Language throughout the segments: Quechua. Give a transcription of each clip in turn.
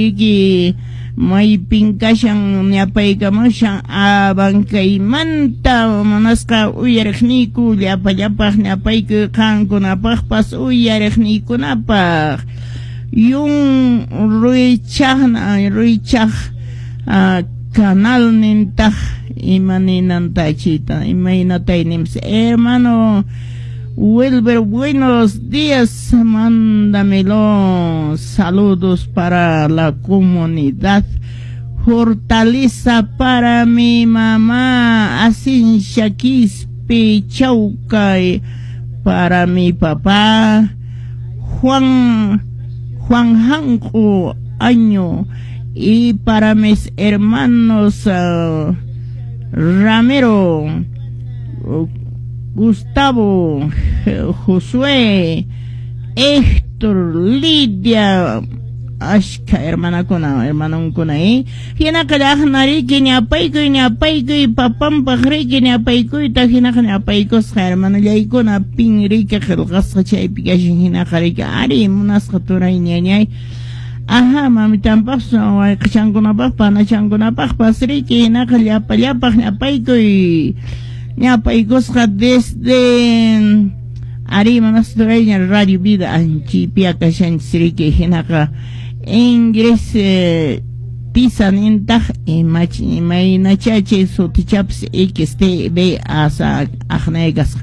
Riki maypin kashan ñapaykamushan Abancaymanta munasqa uyariqniyku llapallapaq ñapaykuy qankunapaqpas uyariqniykunapaq yun ruychaqna ruychaq canal nintaq ima ninanta chayta imaynatay nims hermano Wilber, buenos días, mándamelo. Saludos para la comunidad. Fortaleza para mi mamá, Asinsha Quispe Chaucay. Para mi papá, Juan, Juan Janco Año. Y para mis hermanos, Ramiro, Gustavo, Josué, Héctor, Lidia, ashka hermanakuna, hermanonkuna, eh? Hinaqa llaqnariki ñapaykuy ñapaykuy papanpaq riki ñapaykuyta hinaqa ñapaykusqa hermanollaykuna pin riki qillqasqa chaypi kashan hinaqa riki ari munasqa turay ñañay. Aha, mamitanpaqpas wayqichankunapaq panachankunapaqpas riki hinaqa llapallapaq ñapaykuy ñapaykusqa desde ari munasqa turayña Radio Vida anchipia kashanchis riki hinaqa ingres tisa nintaq imaynacha chay sutichapas XTB asa aqnay kasqa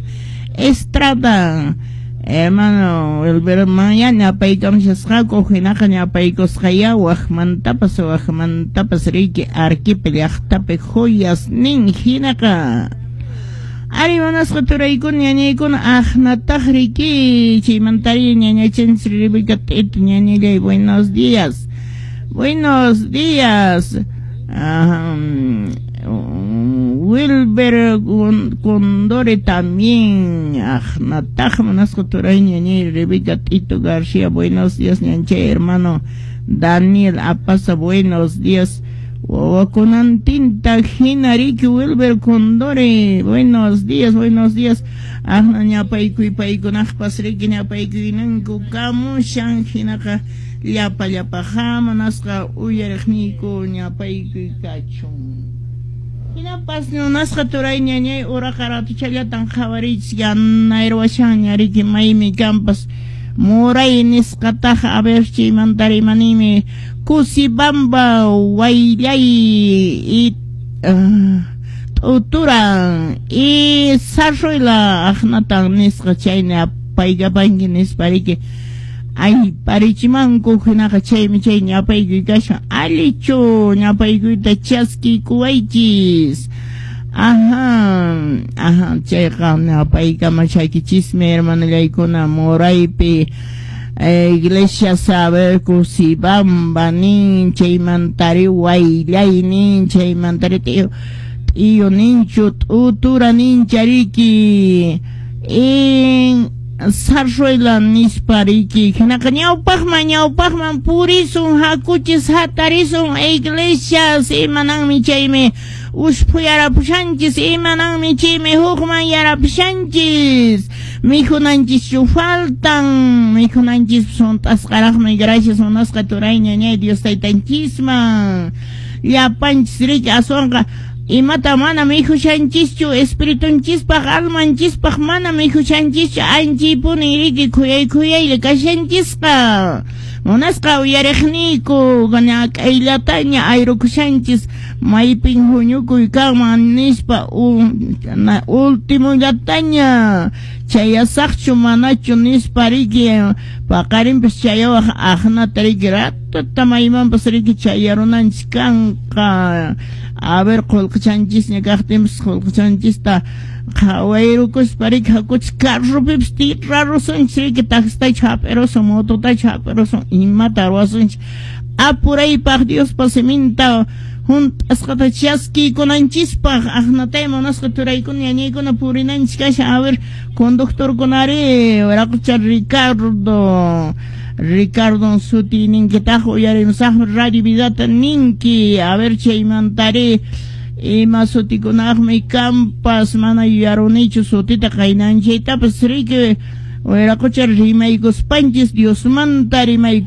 Estrada hermano Wilber ya ñapaykamushasqaku hinaqa ñapaykusqaya waqmantapas waqmantapas riki Arequipa llaqtapi joyas nin hinaqa ari munasqa turaykuna ñañaykuna aqnataq riki chaymantari ñañachanchis Rebeca T'ito ñañallay buenos días, buenos días. Wilber Condore también aqnataq munasqa turay ñañay Rebeca T'ito García, buenos días ñanchay hermano Daniel Apaza, buenos días. Wawakunantinta hina riki Wilber Condore, buenos días, buenos días. Aqna ñapaykuy paykunaqpas riki ñapaykuyninku kamushan hinaqa llapa llapaqa munasqa uyariqniyku ñapaykuy kachun. Hinapas munasqa turay ñañay uraqa ratuchallatan qhawariychis yanayrwashanña riki maymi kanpas Muray nisqataqa a ver chaymanta rimanimi Kusibamba Wayllay y T'uturan y Sarruela aqnatan nisqa chayna apaykapanki nispa riki ay parichimanku hinaqa chaymi chay ñapaykuy kashan allichu ñapaykuyta chaskiykuwaychis. Ajá, ajá, chayqa ñapaykamashakichismi hermanollaykuna Muraypi iglesia saber Kusibamba nin chaymantari Wayllay nin chaymantari t'iyu t'iyu ninchu T'utura nincha riki en Sarruela nispa riki hinaqa ñawpaqman ñawpaqman purisun hakuchis hatarisun iglesias imananmi chaymi usphuyarapushanchis imananmi chaymi hukman yarapushanchis mikhunanchischu faltan mikhunanchis hunt'asqaraqmi gracias munasqa turay ñañay Dios taytanchisman llapanchis riki aswanqa imata mana mikhushanchischu espiritunchispaq almanchispaq mana mikhushanchischu anchaypuni riki khuyay khuyaylla kashanchisqa munasqa uyariqniyku ñak'ayllataña ayrukushanchis maypin huñukuy kanman nispa ultimollataña chayasaqchu manachu nispa riki paqarinpas chayawaq aqnata riki ratata maymanpas riki chayarunanchis kanqa a ver qullqichanchisña kaqtinpas qullqichanchista qhawayrukuspa riki hakuchis carropipas tirarusunchis riki taxitachu hap'irusun mototachu hap'irusun imata ruwasunchis apuraypaq Diospa siminta hunt'asqata chaskiykunanchispaq aqnatay munasqa turaykuna ñañaykuna purinanchis kashan a ver conductorkunari wiraqucha Ricardo Ricardo suti ninkitaq uyarimusaqmi Radio Vidata ninki a ver chaymantari ima sutikunaqmi kanpas mana yuyarunichu sutita qaynanchaytapas riki wiraqucha rimaykuspanchis Diosmanta rimayku.